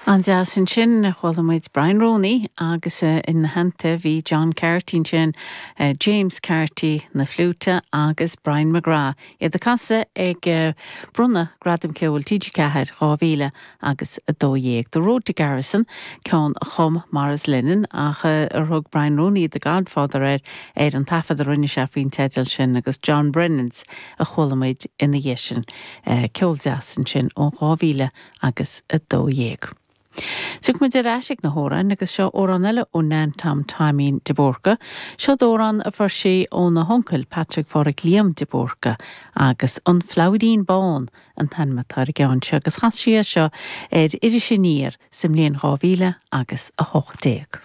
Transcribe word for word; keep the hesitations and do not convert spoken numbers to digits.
An-deas ansin chuala muid Brian Roney agus uh, ina theannta bhí John Carty sin uh, James Carty na fliúta agus Brian McGrath iad ag casadh ag uh, bronnadh Gradam Ceoil TG Ceathair dhá mhíle agus a dó dhéag. The Road to Garrison ceann a chum Maurice Lennon ach uh, ar thug Brian Roney the Godfather ar ar an taifead a rinne sé faoin teideal sin agus John Brennans a chuala muid ina dhiaidh sin uh, ceol deas ansin ó dhá mhíle agus a dó dhéag. Tiocfaimid ar ais ag na hamhráin agus seo amhrán eile ó Nan Tom Taimín de Búrca, Seo amhrán a fuair sí óna huncail Patrick Phádraig Liam de Búrca agus an Flauirín Bán an t-ainm atá ar an gceann seo agus chas sí seo ar Iris Aniar sa mbliain dhá mhíle agus a hocht déag.